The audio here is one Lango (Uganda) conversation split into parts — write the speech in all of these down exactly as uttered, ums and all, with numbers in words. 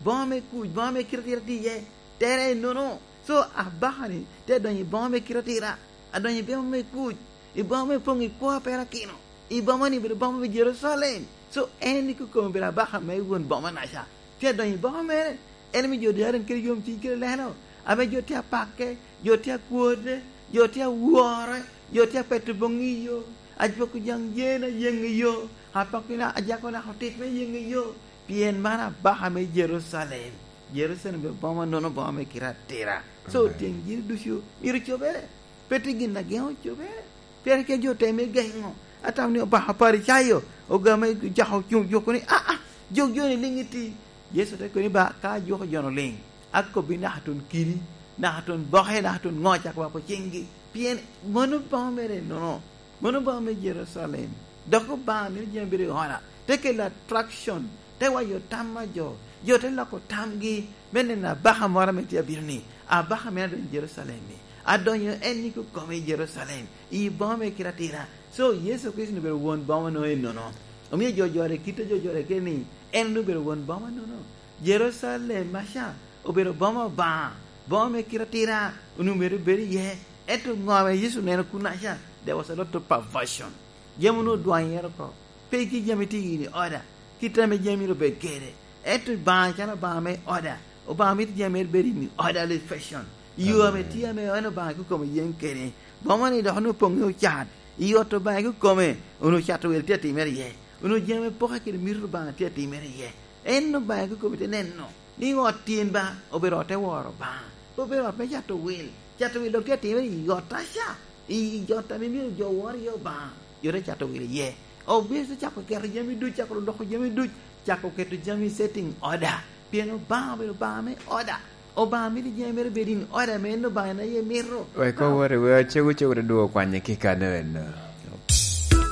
Boŋo me kuc, boŋo me kite atira tye iye, tere ennono. So, abaka-ni te donyo i boŋo me kite atira, adonyo i boŋo me kuc, i boŋo me poŋ i kwo a perakino, i boŋo-ni obedo boŋo me Jerucalem. So, en i kukome obedo abaka me won boŋo-naca. Tye adonyo i boŋo mere, en omio jo darin kede yomcuny kede lelo, ame jo tye apake, jo tye akwode, jo tye awore, jo tye apeto boŋo i yo, ajwoko jaŋ yen ayeŋ i yo, apako na-, ajako naka otit me yeŋ i yo, pien man abaka me Jerucalem. Jerucalem obedo boŋo nono, boŋo me kite atira. So, amen, tyeng yin ducu myero ocobere. Pe tye gin a geŋo cobere, pien kec jo teme geŋo. Atamo ni Obaŋa Oparicayo ogame jako cuŋ juko ni, "Aa, jok jo-ni liŋ iti." Yecu te kobo ni, "Ba, ka ajuko jo-nu liŋ, akobbi naka tun kidi, naka tun boke, naka tun ŋo, cako wako ciŋgi." Pien mano boŋo mere nono. Mano boŋo me Jerucalem. Dok Obaŋa mito jami bedo i oda, te kelo attraction, te wayo tam a jo, jo te loko tamgi me neno abaka moro ame tye abino-ni, abaka mene adonyo i Jerucalem-mi, adonyo en i kukome i Jerucalem, i boŋo me kite atira. So, Yecu Kricito obedo won boŋo nono ennono. Omio jo jore kite, jo jore kede ni, en obedo won boŋo nono. Jerucalem maca obedo boma Obaŋa, boma me kite atira, onwoŋo myero obed iye. Ento ŋo ame Yecu oneno kunaca? There was a lot of perversion. Jami onwoŋo odwaŋ iye oko. Pe ki jami tye in order, kit ame jami myero obed kede. Ento Obaŋa calo Obaŋa me order, Obaŋa mito jami mere bed in orderly fashion. Yo ame tye ame en Obaŋa kikome yen kede. Boma-ni dok onwoŋo poŋ i ocat. I ot Obaŋa kikome, onwoŋo cato wil tye atimere iye. Onwoŋo jami ame poke kede mito Obaŋa tye atimere iye. En Obaŋa kikome te neno ni ot tin ba obedo ot te woro Obaŋa, pe obedo ot me cato wil. Cato wil dok tye atimere i ottaca, i ot ame myero jo wor iye Obaŋa, jo te cato wil iye. Obedo te cako keto jami duc, cako loko jami duc, cako keto jami setting order. Pien Obaŋa obedo Obaŋa me order. Obaŋa mito jami mere bed in order ame en Obaŋa en aye mito. Wek owot i wer, cego cego te dwogo kwanye ki kano eno.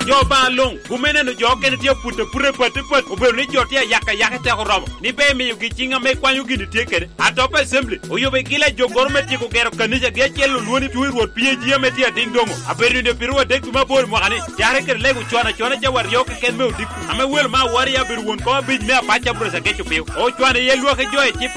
Jo Obaŋa luŋ, gume neno jo okene tye aput aput i pati pati, obedo ni jo tye ayaka ayaka i teko romo, ni ber imiyogi ciŋ ame ikwanyo gin itye kede. Atop Assembly oyubo i Gila joggoro me tyeko gero kanicagi acel olwoŋo ni Tuŋ i Rwot P A G ame tye adiŋ doŋo. Abedo nino piro wadek dwe me aboro i mwaka-ni, cakere kede lego con acona cawa aryo keken me odiko, ame welo me awor iye abedo won kom abic me apac Aburas Ageco Piyo. Ocwano iye lwak i jo i cipa,